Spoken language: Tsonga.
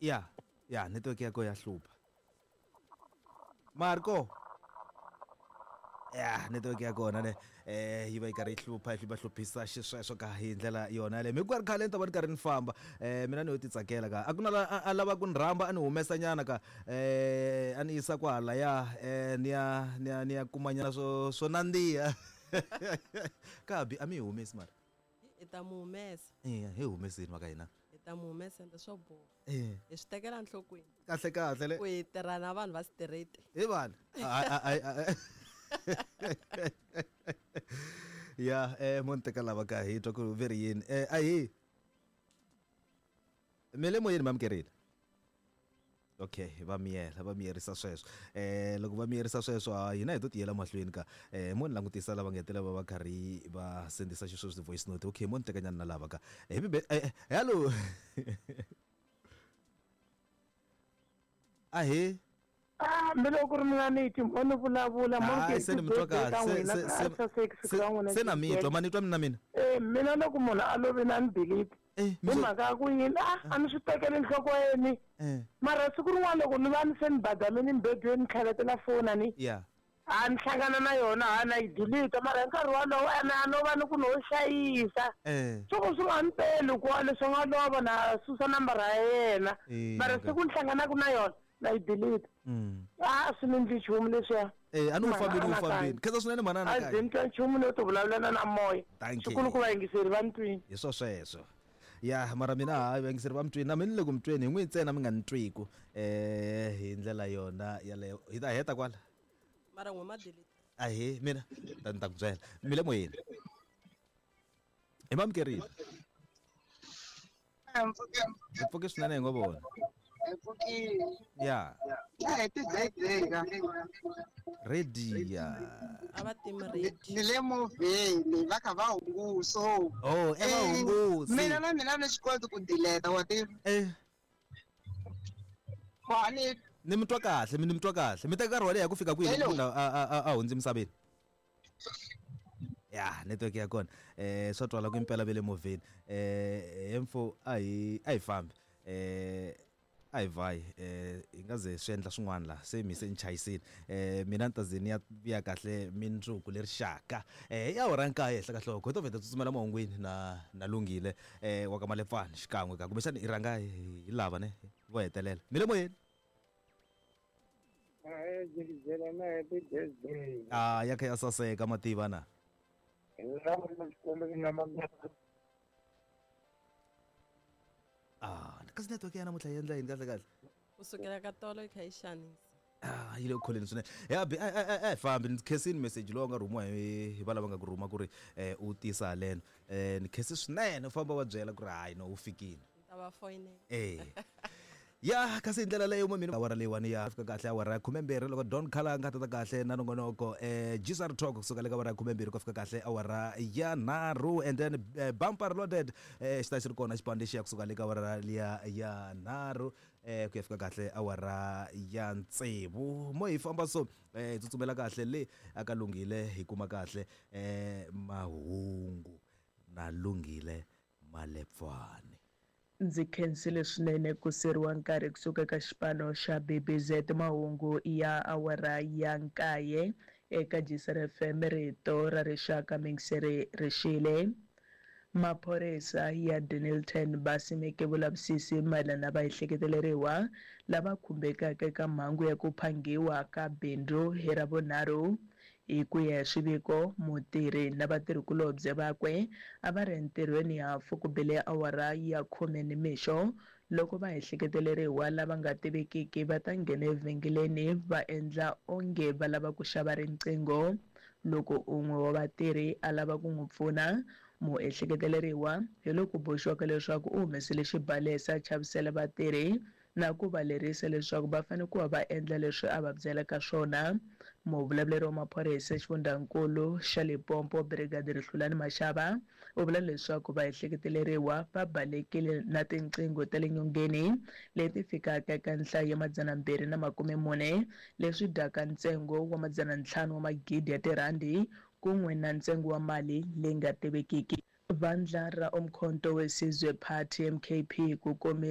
Ya ya network ya ko ya hlupha. Marco ya network ya kona ne yi va yi karhi yi hlupha yi va hluphisa xisweswo ka hi ndlela yona yaleyo. Mi ku ri khale ni ta va ni karhi ni famba mina ni yo ti tsakela ka a ku na la a lava ku ni rhamba a ni humesa nyana ka a ni yisa kwahalaya ni ya ni ya ni ya kumanyana swo swo nandziha ka bi a mi yi humesi mara. Hi ta mu humesa. Eya hi humeseni va ka hina. Hi ta mu humesa ende swo boha. Eh. Hi swi tekela enhlokweni. Kahle kahle le. Ku hi tirha na vanhu va straight. Hi vanhu. Ya mo ni teka lava ka hi twa ku ve ri yini. Ahi. Mi le moyeni mamukerile. Okay va miyela va miyerisa sweswo loko va miyerisa sweswo ha hina hi to tiyela mahlweni ka mo ni langutisa lava nga hetelela va va karhi va sendisa xisweswo ti-voice note. Okay mo ni tekanyana na lava ka happy hello ahee. Ah, mi loko ku ri mina ni ti mo ni vulavula mo Hayi, se ni mi twa kahle. Se na mi twa, ma ni twa mina mina? Eh, mina loko munhu a lovile a ni delete. Eh, Hi mhaka ya ku yini? Ah, a ni swi tekeli enhlokweni. Eh. Mara siku rin'wana loko ni va ni se ni badamile mbedweni ni tlhavetela foni a ni. Yeah. A ni hlangana na yona ha na yi delete mara hi nkarhi wolowo ene a no va ni ku no xayisa. Eh. Swo ku swi nga ni peli ku wa leswi nga lova na susa nambara ya yena. Eh, Mara okay. siku ni hlanganaka na yona na yi delete. A swi ni ndli nchumu leswiya. Eh, a ni wu fambini wu Mhana fambini. Khensa swinene mhana A ndzi Anakanya. ni twa nchumu no ti vulavulela na moya. Thank you. Swikulu ku vayingiseri va ni twini. Hi swo sweswo. Ya mara mina hayi vayingiseri va mi twini na mina ni le ku mi tweni hi n'wi ntsena mi nga ni twiku hi ndlela yona yaleyo. Hi ta heta kwala. Mara n'we ma delete. Ahee mina ta ni ta ku byela. Mi le moyeni. Hi mamukerile. Hi pfuke swinene hi ngo vona. Hi pfukile. Ya. Ya hi ti-birthday ka. Ready ya. A va timi ready. Ni le movheni va kha va hunguso. Oh, e va hungusi. Mina na mina ni swi koti ku delete wa tiva. Eh. Wa ni Ni mi twa kahle, mi ni mi twa kahle. Mi teka nkarhi wo leha ku fika kwihi loko munhu a hundze emisaveni? Ya, network ya kona. Swa twala ku impela ve le movheni. Hemfo a hi a hi fambi. A hi vhayi hi nga ze swi endla swin'wana la se mi se ni chayisile. Mina ni ta ze ni ya vuya kahle mindzuku leri xaka. I awara nkaye henhla ka nhloko hi to vheta tsutsumela mahungwini na na Lunghile wa ka Malepfana xikan'we ka kumbexana i rhanga hi lava ne vo hetelela. Mi le moyeni. Ahee, Jikijela na happy birthday. Ah, ya kha ya saseka mativa na. Hi lava Xikwembu xi nga Ah, kasi network ya namuntlha yi endla yini kahle kahle? Ku sukela ka tolo yi kha yi xanisa. Ah, yi le ku kholeni swinene. Ya bi a hi fambi ni khensini message lowu nga rhumiwa hi va lava nga ku rhuma ku ri u tisa haleno. Ni khensi swinene u famba wa byela ku ri hayi no u fikile. Ni ta va foyinela. Eh. Ya kasi hi ndlela leyo mina awara leyiwani ya fika kahle awara ya 12 loko Don Khala a nga tata kahle na nongonoko GSR Talk kusuka le ka awara ya 12 ku fika kahle awara ya 3 and then bumper loaded xi ta xi ri kona xipano lexiya kusuka le ka awara liya ya 3 ku ya fika kahle awara ya 6 mo hi famba so hi tsutsumela kahle le aka Lunghile hi kuma kahle mahungu na Lunghile Malepfane. Ndzi khensile swinene ku seriwa nkarhi kusuka eka xipano xa BBZ Mahungu ya awara ya nkaye eka Gisere FM Rito ra Rixaka Mingiseri Rixile. Maphorisa ya Dennilton va simeke vulavisisi mayelana na vaehleketeleriwa lava khumbekaka eka mhangu ya ku phanghiwa ka bindzu hi Ravunharhu. Hi ku ya hi swiviko, mutirhi na vatirhikulobye vakwe a va ri entirhweni hafu ku bile awara ya khume nimixo loko vaehleketeleriwa lava nga tivekiki va ta nghena evhengeleni va endla onge va lava ku xava riqingho. Loko un'we wa vatirhi a lava ku n'wi pfuna, muehleketeleriwa hi loko boxiwaka leswaku u humesile xibalesa a chavisela vatirhi na ku va lerisa leswaku va fanele ku va va endla leswi a va byelaka swona. Muvulavuleri wa maphorisa exifundhankulu xa Limpopo, Brigadier Hlulani Mashaba, u vula leswaku vaehleketeleriwa va balekile na tinqingho ta le nyongeni leti fikaka eka nhlayo ya 240, leswi dyaka ntsengo wa 500 wa magidi ya tirhandi kun'we na ntsengo wa mali leyi nga tivekiki. Vandla ra Umkhonto weSizwe Party, MKP, ku komisa.